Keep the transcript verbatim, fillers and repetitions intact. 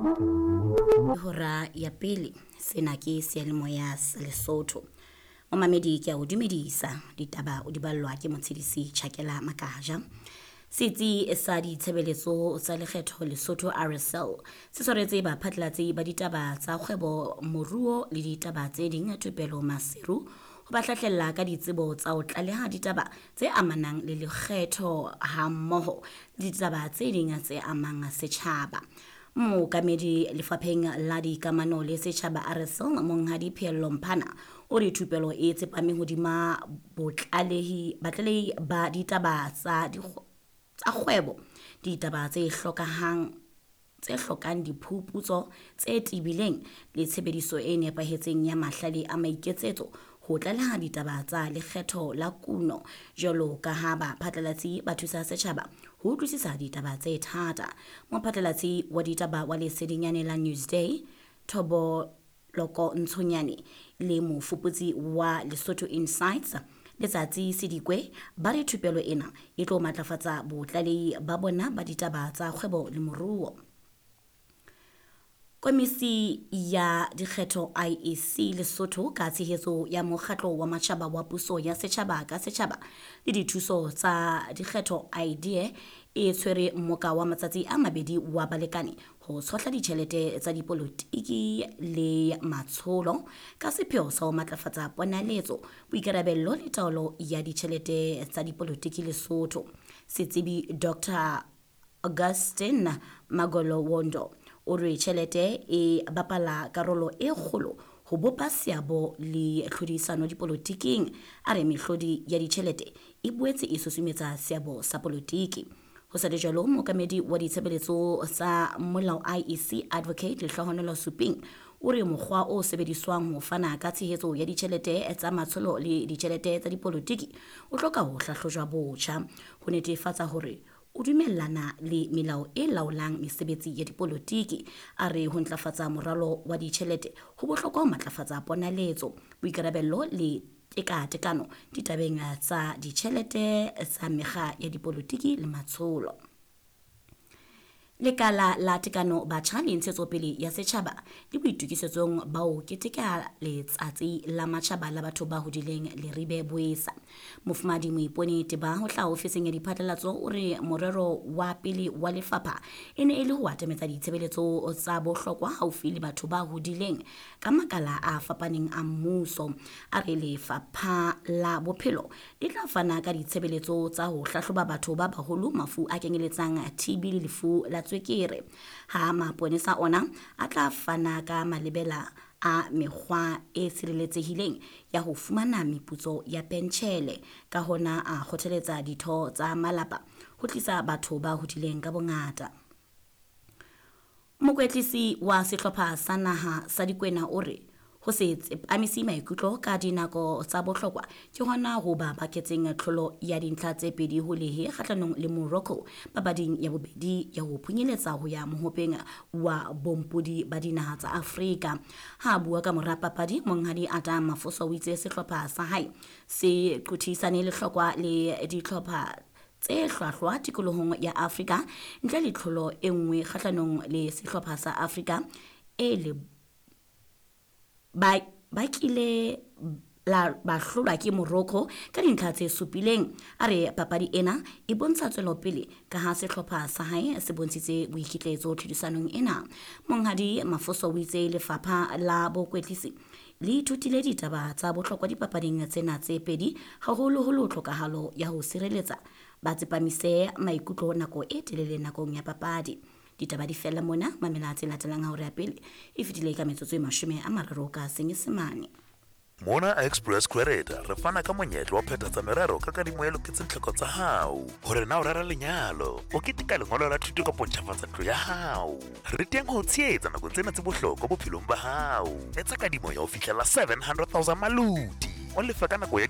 Hora ya pele, sena ke seyalemoya sa Lesotho. Momamedi, ke a o dumedisa. Ditaba o di ballwa ke Motshedisi Chakela Makaja. Setsi sa ditshebeletso tsa lekgetho Lesotho, R S L, se tshwaretse baphatlalatsi ba ditaba tsa kgwebo, moruo le ditaba tse ding thupelo Maseru ho ba hlahlella ka ditsebo tsa ho tlaleha ditaba tse amanang le lekgetho hammoho le ditaba tse ding tse amang setjhaba. Mookamedi lefapheng la dikamano le setjhaba R S L, Monghadi Pheello Mphana, o re thupelo e tsepame hodima botlalehi batlalehi ba ditaba tsa tsa kgwebo, ditaba tse hlokahang tse hlokang diphuputso tse tebileng le tshebediso e nepahetseng ya mahlale a maiketsetso ho tlaleha ditaba tsa lekgetho la kuno, jwalo ka ha baphatlalatsi ba thusa setjhaba ho utlwisisa ditaba tse thata. Mophatlalatsi wa ditaba wa lesedinyane la Newsday, Thoboloko Ntshonyane, le mofuputsi wa Lesotho Insights, Letsatsi Sedikwe, ba re thupelo ena e tlo matlafatsa botlalehi ba bona ba ditaba tsa kgwebo le moruo. Komisi ya dikgetho I E C Lesotho, ka tshehetso ya mokgatlo wa matjhaba wa puso ya setjhaba ka setjhaba le dithuso tsa dikgetho IDEA, e tshwere mmoka wa matsatsi a mabedi wa balekane ho tshohla ditjhelete tsa dipolotiki le matsholo ka sepheo sa ho matlafatsa ponaletso, boikarabello le taolo ya ditjhelete tsa dipolotiki Lesotho. Setsebi Doctor Augustine Magolowondo o re tjhelete e bapala karolo e kgolo ho bopa seabo le tlhodisano dipolotiking. A re mehlodi ya ditjhelete e boetse e susumetsa seabo sa polotiki. Ho sa le jwalo, mookamedi wa ditshebeletso tsa molao I E C, Advocate Lehlohonolo Suping, o re mokgwa o sebediswang ho fana ka tshehetso ya ditjhelete tsa matsholo le ditjhelete tsa dipolotiki o hloka ho hlahlojwa botjha ho netefatsa hore o dumellana le melao e laolang mesebetsi ya dipolotiki. A re ho ntlafatsa moralo wa ditjhelete ho bohlokwa ho matlafatsa ponaletso, boikarabello le tekatekano ditabeng tsa ditjhelete tsa mekga ya dipolotiki le matsholo. Lekala la Tekano Batjha le Ntshetsopele ya Setjhaba le boitokisetsong ba ho keteka Letsatsi la Matjhaba la Batho ba Hodileng Leribe Boesa. Mofumahadi Moipone Teba ho hlaha ofising ya diphatlalatso o re morero wa pele wa lefapha e ne e le ho atametsa ditshebeletso tsa bohlokwa haufi le batho ba hodileng ka makala a fapaneng a mmuso. A re Lefapha la Bophelo le tla fana ka ditshebeletso tsa ho hlahloba batho ba baholo mafu a kenyeletsang T B le lefu la tswekere, ha maponesa ona a tla fana ka malebela a mekgwa e sireletsehileng ya ho fumana meputso ya pentjhele. Ka hona a kgothaletsa ditho tsa malapa ho tlisa batho ba hodileng ka bongata. Mokwetlisi wa sehlopha sa naha sa Dikwena o re ho se tsepamise maikutlo ka dinako tsa bohlokwa ke hona ho ba baketseng tlholo ya dintlha tse pedi ho lehe kgahlanong le Morocco papading ya bobedi ya ho phunyeletsa ho ya mohopeng wa bompodi ba dinaha tsa Afrika. Ha a bua ka mora papadi, Monghadi Adam Mafoso o itse sehlopha sa hae se qothisane lehlokwa le dihlopha tse hlwahlwa tikolohong ya Afrika ntle le tlholo e nngwe kgahlanong le sehlopha sa Afrika e le ba ba kile la ba hlolwa ke Morocco ka dintlha tse supileng. A re papadi ena e bontsha tswelopele ka ha sehlopha sa hae se bontshitse boikitlaetso tlhodisanong ena. Monghadi Mafoso o itse lefapha la bokwetlisi le ithutile ditaba tsa bohlokwa dipapading tsena tse pedi, haholoholo tlhokahalo ya ho sireletsa ba tsepamise maikutlo nako e telele nakong ya papadi. Ditaba di fella mona. Mamela tse latelang ha hora ya pele e fetile ka metsotso e mashome a mararo ka Senyesemane. Mona Express Credit re fana ka monyetla wa phethatsa merero ka kadimo e loketseng tlhoko tsa hao, hore na o rera lenyalo, o keteka lengolo la thuto kapo ntjhafatsa ntlo ya hao, re teng ho o tshehetsa nakong tsena tse bohlokwa bophelong ba hao. Etsa kadimo ya ho fihlela seven hundred thousand maloti, o lefe ka nako ya